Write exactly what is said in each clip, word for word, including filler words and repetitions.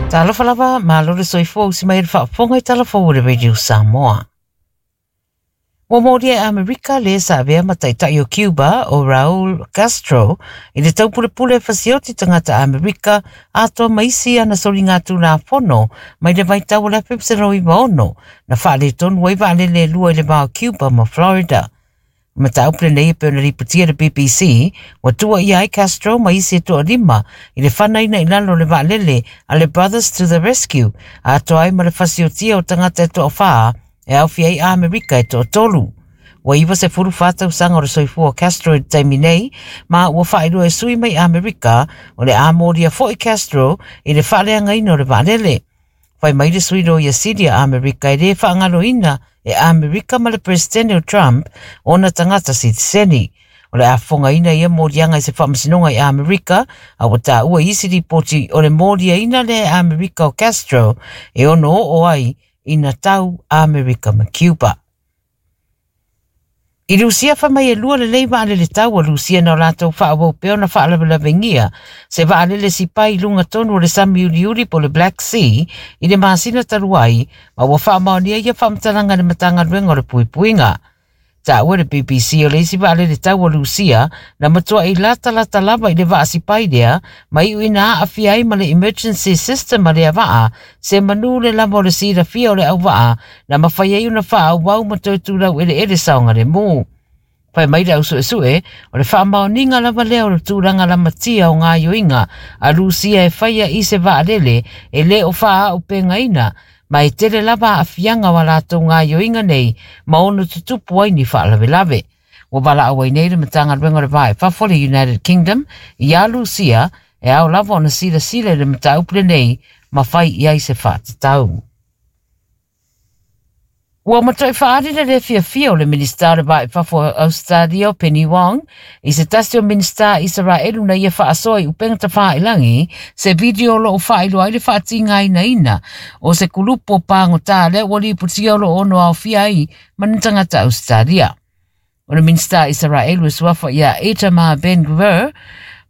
Talofa lava, malo le soifua usi mai le faafofoga i tala fou o le Radio Samoa. Ua molia e Amerika le sa avea ma taitai o Cuba o Raul Castro i le taupulepule e fasioti tagata Amerika atoa ma isi ana soligatulafono mai le vaitau o le afe iva sefulu iva ono na faaletonu ai vaalele e lua i le va o Cuba ma Florida. Mataupu lenei e pei ona lipotia le B B C, ua tuuaia ai Castro ma isi e toalima i le fanaina i lalo o le vaalele a le Brothers to the Rescue, atoa ai ma le fasiotia o tagata e toafā e aofia ai Amerika e toatolu. Ua iva sefulu fa tausaga o le soifua o Castro i le taimi nei, ma ua faailoa e sui mai Amerika o le a molia foi Castro i le faaleagaina o le vaalele. Fai mai le sui loia sili a Amerika e le faagaloina e Amerika ma le presidente o Trump ona tagata sitiseni. O le a fofogaina ia moliaga i se faamasinoga i Amerika, a ua taua i isi lipoti o le moliaina lea e Amerika o Castro e ono oo ai ina tau Amerika ma Cuba. I Rusia fai mai e lua lelei vaalele tau a Rusia na o latou faaauau pea ona faalavelavegia se vaalele sipai i luga tonu o le sami uliuli po o le Black Sea i le masina talu ai, ma ua faamaonia ia faamatalaga i le Matagaluega o le Puipuiga. Taua le B B C o le isi vaalele tau a Rusia na matuai latalata lava i le vaasipai lea ma iu ina aafia ai ma le emergency system a lea vaa se manu le lava o le silafia o le auvaa na mafai ai ona faaauau ma toe tulau eleele saogalemu. Fai mai le ausuesue o le faamaoniga lava lea o le tulaga lamatia o gaoioiga a Rusia e faia i se vaalele e le o faaaupegaina ma e tele lava aafiaga o a latou gaoioiga nei ma ono tutupu ai ni faalavelave. Ua valaau ai nei le Matagaluega o le Va i Fafo o le United Kingdom ia Rusia e ao lava ona silasila i le mataupu lenei ma fai i ai se faatatau. Ua matuai faaali le le fiafia o le Minista o le Va i Fafo o Australia o Penny Wong i se tasi o Minista Isaraelu na ia faasoa i upega tafailangi se video o loo faailoa ai le faatigainaina o se kulupu o pagotā lea ua lipotia o loo ono aofia ai ma ni tagata Australia. O le Minista Isaraelu e suafa ia Itamar Ben-Gvir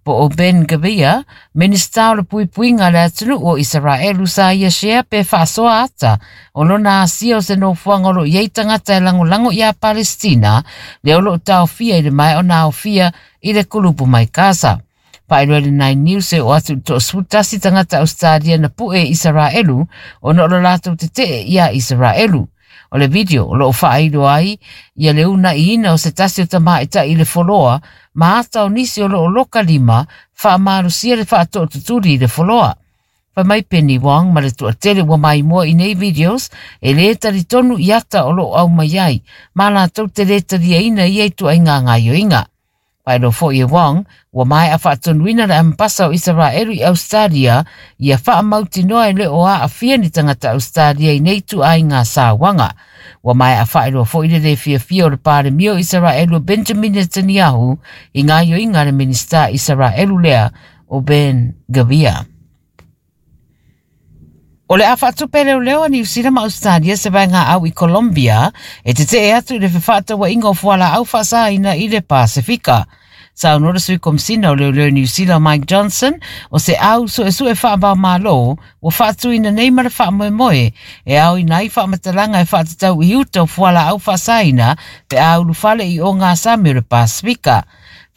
po o Ben Gvir, Minista o le Puipuiga le atunuu o Isaraelu sa ia share pe faasoa ata o lona asia o se nofoaga o loo i ai tagata e lagolago ia Palestina lea o loo taofia i le maea ona aofia i le kulupu mai Gaza. Faailoa le Nine News e o atu i le toasefulu tasi tagata Australia na pue i Isaraelu ona o lo latou tetee ia Isaraelu. O le video o loo faailoa ai ia le unaiina o se tasi o tamaitai i le foloa ma ata o nisi o loo loka lima faamalosia le faatootutuli i le foloa. Fai mai Penny Wong ma le toatele ua maimoa i nei videos e le talitonu i ata o loo aumai ai ma latou te le taliaina ia i tuaiga gaoioiga. Faailoa foi e Wong ua maea faatonuina le ambasa o Isaraelu i Australia ia faamautinoa e le o aafia ni tagata Australia i nei tuaiga sauaga. Ua maea faailoa foi le le fiafia o le Palemia o Isaraelu o Benjamin Netanyahu i gaoioiga a le Minista Isaraelu lea o Ben Gvir. O le a faatupe leoleo a Niu Sila ma Australia se vaega au i Colombia e tetee atu i le fefaatauaiga o fualaau faasaina i le Pasifika. Saunoa le sui komisina o leoleo Niu Sila Mike Johnson o se au suesue faavaomalo ua faatuina nei ma le faamoemoe e aoina ai faamatalaga e faatatau i uta o fualaau faasaina pe a ulufale i ogasami o le Pasifika.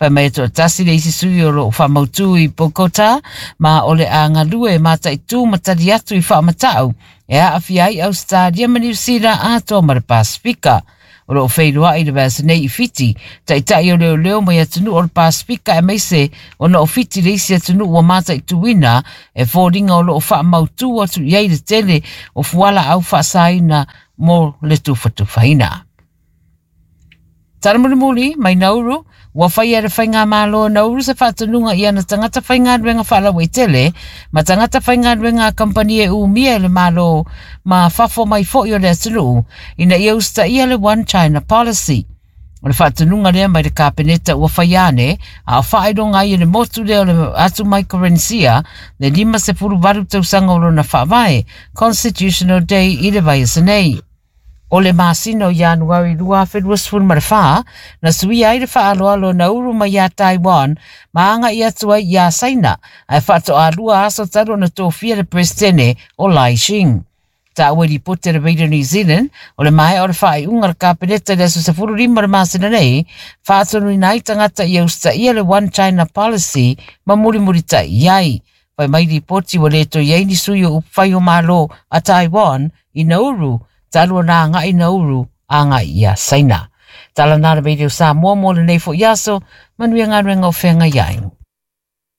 Fai mai e toatasi le isi sui o loo faamautū i Bogota ma o le a galue mataitū ma tali atu i faamatau e aafia ai Australia ma Niu Sila atoa ma le Pasifika. O loo feiloai le vaiaso nei i Fiti, taitai o leoleo mai atunuu o le Pasifika aemaise ona o Fiti le isi atunuu ua mataituina e foliga o loo faamautū atu i ai le tele o fualaau faasaina mo le tufatufaina. Tala mulimuli mai Nauru, ua faia le faigamalo o Nauru se faatonuga i ana tagata faigaluega faalauaitele ma tagata faigaluega a kampani e umia e le malo ma fafo mai foi o le atunuu ina ia usitaia le One China Policy. O le faatonuga lea mai le kapeneta ua faia ane a o faailoga ai e le motu lea o le atu Micronesia le lima sefulu valu tausaga o lona faavae Constitutional Day i le vaiaso nei. O le masina o Ianuari lua afe luasefulu ma le fa, na suia ai le faaaloalo Nauru mai ia Taiwan ma aga'i atu ai iā Saina, ae faatoalua aso talu ona tofia le Peresetene o Lai Ching. Taua i lipoti a le Radio New Zealand, o le maea o le faaiuga a le Kapeneta i le aso sefulu lima o le masina nei, faatonuina ai tagata ia usitaia le One China Policy ma mulimulita'i i ai. Fai mai lipoti ua le toe i ai ni sui o upufai o Malo a Taiwan i Nauru, talu ona aga'i Nauru aga'i iā Saina. Tala na le Radio Samoa mo lenei fo'i aso, manuia galuega o feagai ai.